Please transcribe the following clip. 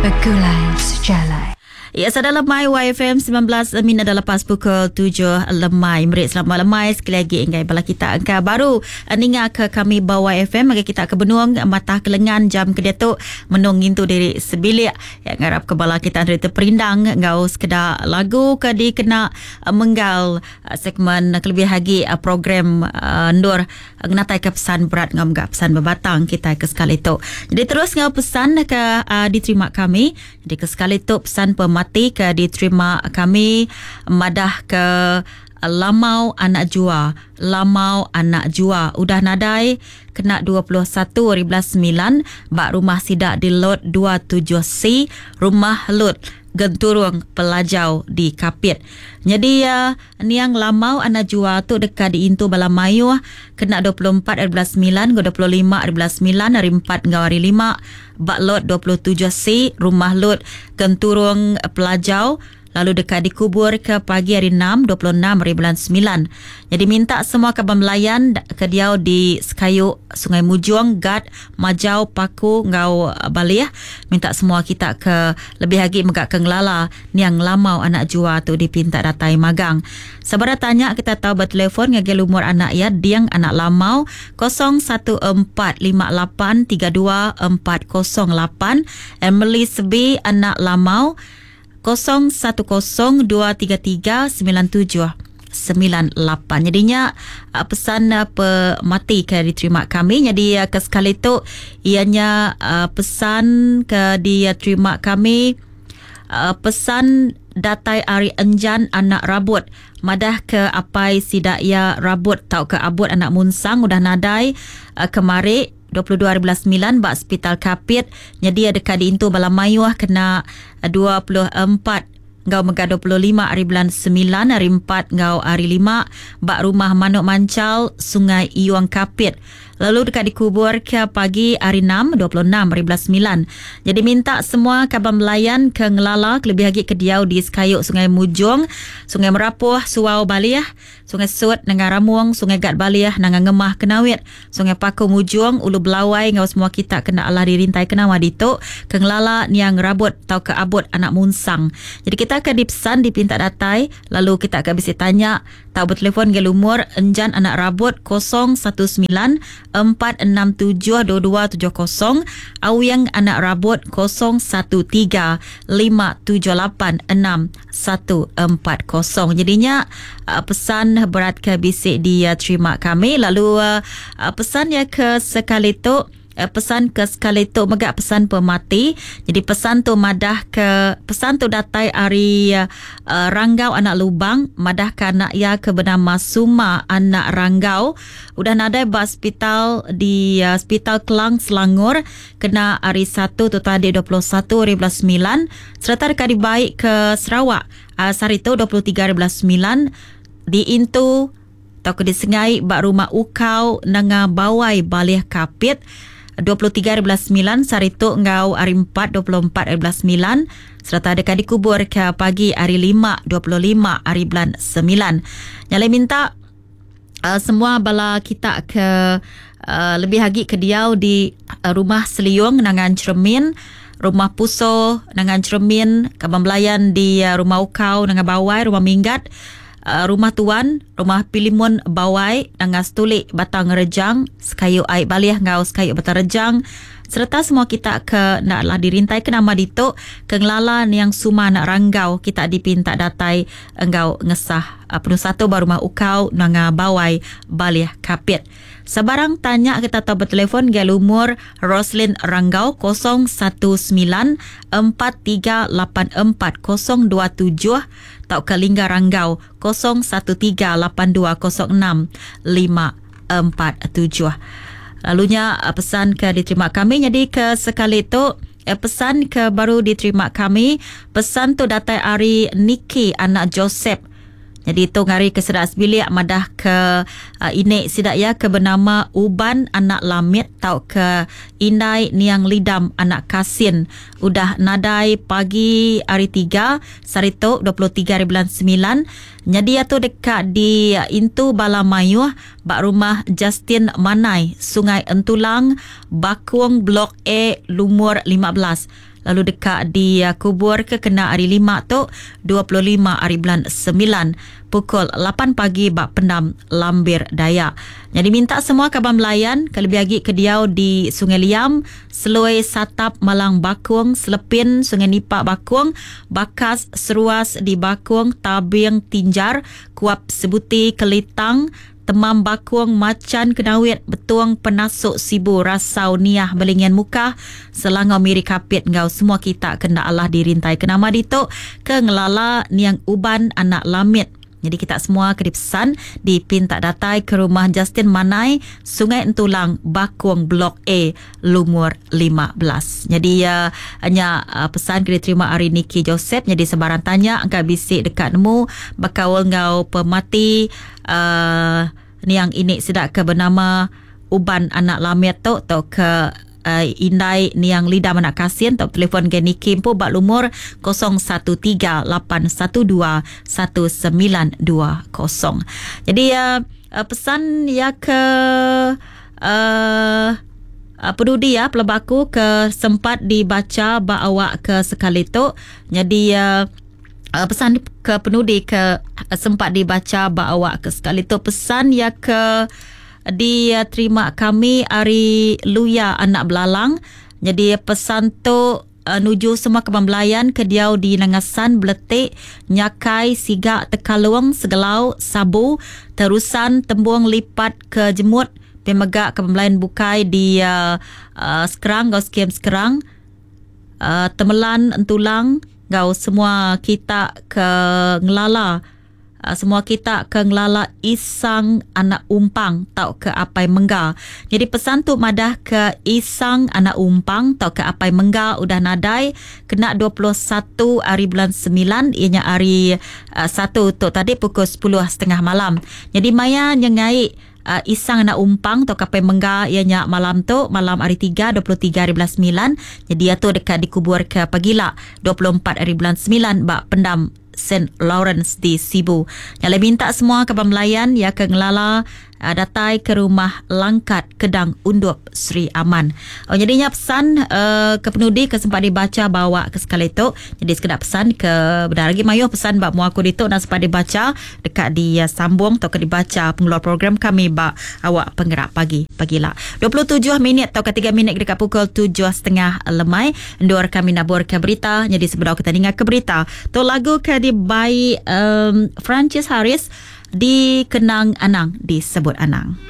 Begulai Sejalai. Ya, sada lemai YFM 19 minit dah lepas pukul 7 lemai. Meri selamat lemai sekali lagi enggai bala kita engka baru ninga ke kami ba YFM bagi kita ke benung matah kelengan jam ke diatu menung ngintu diri sebilik. Ya, ngarap ke bala kita dari terperindang enggau sekeda lagu ke dikena menggal segmen kelebih agi program endur ngenatai ke pesan berat enggau mega pesan bebatang kita ke sekali tu. Jadi terus enggau pesan ke diterima kami. Jadi ke sekali tu pesan pemati ke diterima kami madah ke Lamau Anak Jua. Lamau Anak Jua udah nadai kena 21 hari bulan 9 ba rumah sida di Lot 27C, Rumah Lut, Genturung Pelajau di Kapit. Nyadi niang Lamau Anak Jua tu deka diintu bala mayuh kena 24 hari bulan 9 enggau 25 hari bulan 9 hari 4 enggau hari 5 ba Lot 27C, Rumah Lut, Genturung Pelajau, lalu deka dikubur ke pagi hari 6, 26 hari bulan 9. Jadi minta semua kaban belayan ke diau di Sekayu, Sungai Mujung, Gat, Majau, Paku enggau Balih, minta semua kita ke lebih agi mega ke ngelala niang Lamau Anak Jua tu dipinta datai magang. Sebara tanya kita tau bertelefon ngagai lumur anak iya Ding Anak Lamau 0145832408, Emily Sebi Anak Lamau 0102339798. Jadinya pesan pemati ke diterima kami. Jadi ke sekali tu ianya pesan ke diterima kami, pesan datai ari Enjan Anak Rabut madah ke apai sida ia Rabut tau ke Abut Anak Munsang udah nadai kemari 22 hari bulan 9 ba Hospital Kapit. Jadi ada dekat diintu bala mayuh kena 24 enggau mega 25 hari bulan 9 hari 4 enggau hari 5 ba Rumah Manuk Mancal Sungai Iung Kapit. Lalu dekat dikubur ke pagi hari 6, 26 hari bulan 9. Jadi minta semua kaban belayan ke ngelala kelebih agi ke diau di Sekayu Sungai Mujung, Sungai Merapoh, Suau Balih, Sungai Sut, Nengah Ramung, Sungai Gat Balih, Nanga Ngemah Kenawit, Sungai Paku Mujung, Ulu Belawai enggau semua kita kena alah dirintai kenawa ditu ke ngelala niang Rabut tau ke Abut Anak Munsang. Jadi kita akan dipesan dipinta datai lalu kita akan bisi tanya tau bertelefon ke lumur Enjan Anak Rabut 019 467 2270, Awiang Anak Rabut 013 578 6140. Jadinya pesan berat ke bisik diterima kami. Lalu pesan ya ke sekali tu, pesan ke sekali tu mega pesan pemati. Jadi pesan tu madah ke pesan tu datai ari Ranggau Anak Lubang madah ke anak ia ke bernama Suma Anak Ranggau udah nadai ba hospital di Hospital Kelang Selangor kena hari 1 tu tadi 21 hari bulan 9 serta dekat dibaik ke Sarawak sehari tu 23 hari bulan 9 diintu tau ke disengai ba rumah Ukau Nanga Bawai Balih Kapit 23 hari bulan 9 sehari tu enggau hari 4 24 hari bulan 9 serta dekat dikubur ke pagi hari 5 25 hari bulan 9. Nyalai minta semua bala kita ke lebih agi ke diau di rumah Seliung Nangan Cermin, Rumah Puso Nangan Cermin, Kaban Belayan di Rumah Ukau Nangan Bawai, Rumah Minggat, Rumah Tuan, Rumah Pilimun Bawai, Nangan Stulik Batang Rejang, Sekayu Aik Balih enggau Sekayu Batang Rejang, serta semua kita ke naklah dirintai ke nama ditu ke ngelala niang Suma Anak Ranggau kita dipinta datai enggau ngesah penuh satu ba Rumah Ukau Nanga Bawai Balih Kapit. Sebarang tanya kita tau bertelefon gaya lumur Roslin Ranggau 019 4384 027 tau ke Lingga Ranggau 013 8206 547. Lalunya pesan ke diterima kami jadi ke sekali tu pesan ke baru diterima kami, pesan tu datai ari Niki anak Joseph. Jadi tu ngari ke sedak sebilik madah ke ini sidak ya ke bernama Uban anak Lamit tau ke Indai Niang Lidam anak Kasin udah nadai pagi hari 3 sehari tu 23 hari bulan 9. Jadi tu dekat di intu bala mayuh ba rumah Justin Manai Sungai Entulang Bakung Blok A lumur 15. lalu deka dikubur ke kena hari lima tu 25 hari bulan 9 pukul 8 pagi ba pendam Lambir Dayak. Jadi minta semua kaban belayan ke lebih agi ke diau di Sungai Liam, Seloi Satap Malang Bakung, Selepin Sungai Nipak Bakung, Bakas Seruas di Bakung, Tabing Tinjar, Kuap Sebuti Kelitang, Temam Bakung, Macan Kenawit, Betung Penasuk Sibu, Rasau Niah Belingian Mukah, Selangau Miri Kapit enggau semua kita kena Allah dirintai ke nama ditu ke ngelala niang Uban anak Lamit. Jadi kita semua ke dipesan dipinta datai ke rumah Justin Manai, Sungai Entulang, Bakung Blok A, lumur 15. Jadi uh, hanya uh, pesan ke diterima hari Niki Joseph. Jadi sebarang tanya angka bisik dekat nemu bakaul ngau pemati uh, niang ini sedak ke bernama Uban anak Lamit tu atau ke indai niang Lida Manak Kasin atau telefon ke Niki empu bak lumur 0138121920. Jadi uh, pesan ya ke uh, pedudi ya pelebaku ke sempat dibaca bak awak ke sekali tu. Jadi uh, pesan ke penudi ke sempat dibaca bak awak ke sekali tu pesan ya ke diterima kami ari Luya anak Belalang. Jadi pesan tu nuju semua kebang belayan ke diau di Nangasan, Beletik, Nyakai, Sigak, Tekalung, Segelau, Sabu, Terusan, Tembung, Lipat ke Jemut, pemegak kebang belayan bukai di uh, uh, Sekerang, gau skim Sekerang, Temelan, Entulang, gau semua kita ke ngelala semua kita ke ngelala Isang anak Umpang tau ke Apai Mengga. Jadi pesan tu madah ke Isang anak Umpang tau ke Apai Mengga udah nadai kena 21 hari bulan 9 ianya hari 1 tu tadi pukul 10.30 malam. Jadi maya nyengai Isang anak Umpang atau Apai Mengga ianya malam tu malam hari 3 23 hari bulan 9. Jadi ia tu dekat dikubur ke pagila 24 hari bulan 9 bak pendam St. Lawrence di Sibu. Yang minta semua kebang melayan ya ke ngelala datai ke rumah Langkat Kedang Undup Sri Aman. Oh, jadinya pesan ke penudi ke sempat dibaca bawa ke sekali tu. Jadi sekedar pesan ke benar lagi mayu pesan bak muaku ditu nak sempat dibaca dekat di sambung atau ke dibaca pengeluar program kami bak awak penggerak pagi pagilah. 27 minit atau ke 3 minit dekat pukul 7.30 lemai. Ndur kami nabur ke berita. Jadi sebelum kita dengar ke berita, tu lagu ke di by Francis Harris dikenang Anang disebut Anang.